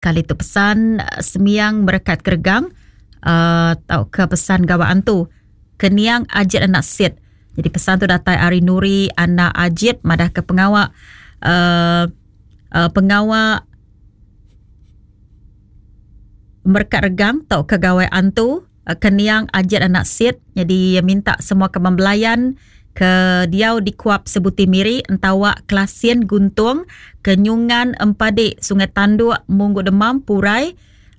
Kali tu pesan sembiang merekat keregang uh, tauka pesan gawa antu keniang Ajit anak Sit. Jadi pesan tu datai ari Nuri anak Ajit madah ke pengawa uh, uh, pengawa merekat regang tauka gawai antu Keniang Ajit anak Sit nyadi minta semua kaban belayan ke diau di Kuap Sebuti Miri Entawa Klasin Guntung Kenyungan Empadi Sungai Tanduk Munggu Demam Purai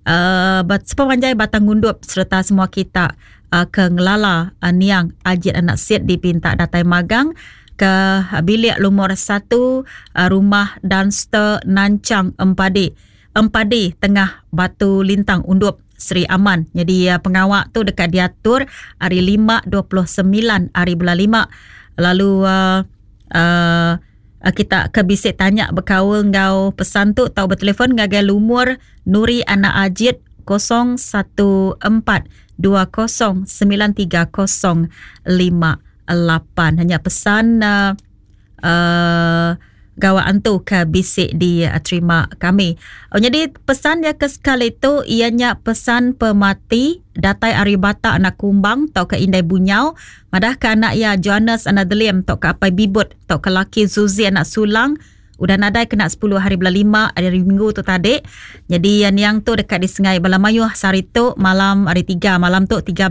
uh, sepemanjai Batang Ngundup sereta semua kita uh, ke ngelala uh, niang Ajit anak Sit dipinta datai magang ke bilik lumur satu uh, rumah Dunster Nanchang Empadi Empadi Tengah Batu Lintang Undup Sri Aman. Nyadi pengawa tu deka diatur hari lima 29 hari bulan lima lalu uh, uh, kita ke bisi tanya bekaul enggau pesan tu tau betelefon ngagai lumur Nuri Anak Ajit 014 20 930 58. Hanya pesan uh, uh, gawa antu ke bisi diterima kami. Oh, jadi pesan dia ke sekali tu iya nya pesan pemati datai ari Batak anak Kumbang tauka Indai Bunyau madah ke anak iya Johannes anak Delim tauka Apai Bibut tauka laki Zuzi anak Sulang udah nadai kena 10 hari bulan 5 hari minggu tu tadi. Jadi niang tu deka disengai bala mayuh sehari tu malam hari 3 malam tu 13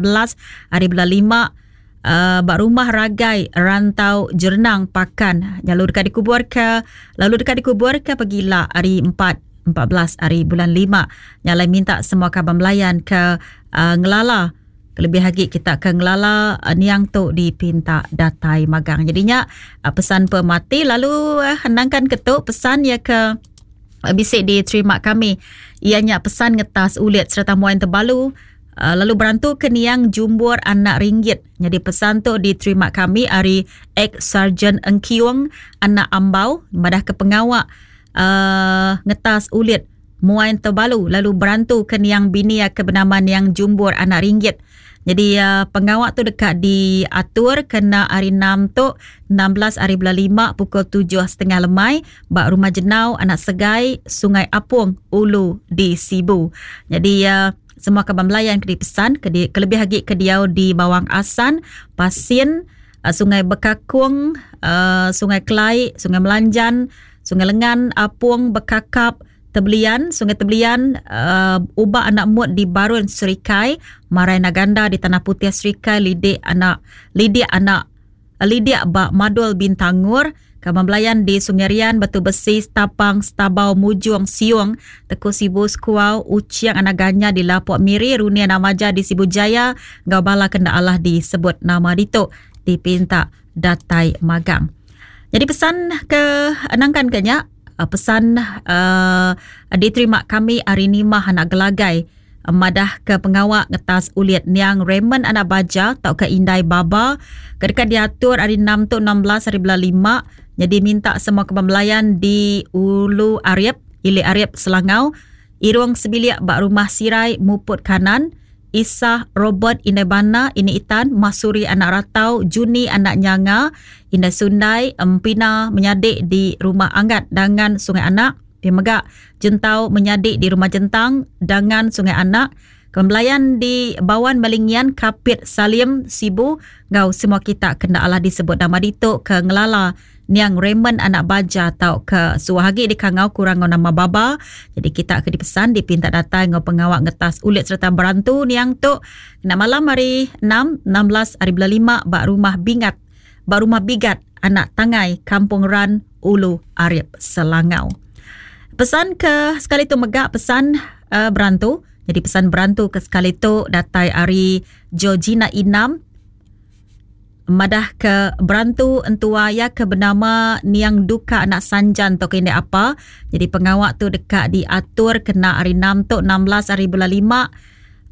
hari bulan 5 uh, ba rumah Ragai Rantau Jernang Pakan lalu deka dikubur ke lalu deka dikubur ke pegila hari 4 14 hari bulan 5 nyalai minta semua kaban belayan ke uh, ngelala kelebih agi kita ke ngelala uh, niang tu dipinta datai magang jadinya uh, pesan pemati lalu uh, henangkan ke tu pesan ya ke uh, bisi diterima kami ianya pesan ngetas ulit sereta muai tebalu Lalu berantu ke niang Jumbur anak Ringgit. Nyadi pesan tu diterima kami ari ex-Sarjan Engkiung anak Ambau madah ke pengawa uh, ngetas ulit muai tebalu lalu berantu ke niang bini ke benama niang Jumbur anak Ringgit. Jadi uh, pengawa tu deka diatur kena hari 6 tu 16 hari bulan 5 pukul 7.30 lemai ba Rumah Jenau Anak Segai Sungai Apung Ulu di Sibu. Jadi uh, Semua kaban belayan ke dipesan ke di, kelebih agi ke diau di Bawang Asan, Pasin, uh, Sungai Bekakung, uh, Sungai Kelai, Sungai Melanjan, Sungai Lengan, Apung, Bekakap, Tebelian, Sungai Tebelian, uh, Ubak Anak Mut di Barun Serikai, Marai Naganda di Tanah Putih Serikai, Lidik Anak Lidik Anak Lidik ba Madul Bintangor, Kaban Belayan di Sungai Rian, Batu Besi, Stapang, Stabau, Mujung, Siung, Teku Sibu, Sekuau, Uching Anak Ganya di Lapok Miri, Runi Anak Maja di Sibu Jaya enggau bala ke enda alah disebut nama ditu dipinta datai magang. Nyadi pesan ke nangkan ke nya, pesan uh, diterima kami ari Nimah Anak Gelagai madah ke pengawa ngetas ulit niang Raymond Anak Baja tauka Indai Baba ke deka diatur hari 6 tu 16 hari bulan 5 nyadi minta semua kaban belayan di Ulu Arip, Ili Arip, Selangau, Irung sebilik ba Rumah Sirai Muput Kanan, Isah Robert Indai Bana, Ini Itan, Masuri Anak Ratau, Juni Anak Nyanga, Indai Sundai, Empina menyadi di Rumah Anggat Dangan Sungai Anak, Pia mega, Jentau menyadi di Rumah Jentang, Dangan Sungai Anak, Kembelayan di Bawan Melingian, Kapit, Salim, Sibu enggau semua kita ke enda alah disebut nama ditu ke ngelala niang Raymond anak Baja tauka suah agi dikangau kurang enggau nama Baba. Jadi kita ke dipesan dipinta datai enggau pengawa ngetas ulit sereta berantu niang tu kena malam hari 6, 16 hari bulan 5 ba Rumah Bingat ba Rumah Bigat Anak Tangai, Kampung Ran, Ulu Arip Selangau. Pesan ke sekali tu mega pesan uh, berantu. Jadi pesan berantu ke sekali tu datai ari Georgina Inam madah ke berantu entua iya ke benama Niang Duka anak Sanjan tauka indai apa. Jadi pengawa tu deka diatur kena hari 6 tu 16 hari bulan 5 uh,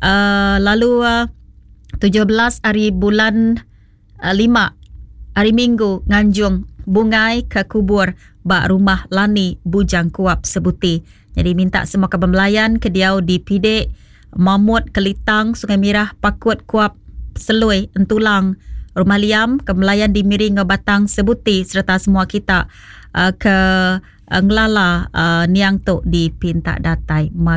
eh, lalu uh, 17 hari bulan 5 hari Minggu nganjung bungai ke kubur ba Rumah Lani Bujang Kuap Sebuti. Nyadi minta semua kaban belayan ke diau di Pidek, Mamut, Kelitang, Sungai Mirah, Pakut, Kuap, Selui, Entulang, Rumah Liam, ke belayan di Miri enggau Batang Sebuti sereta semua kita ke ngelala niang tu dipinta datai.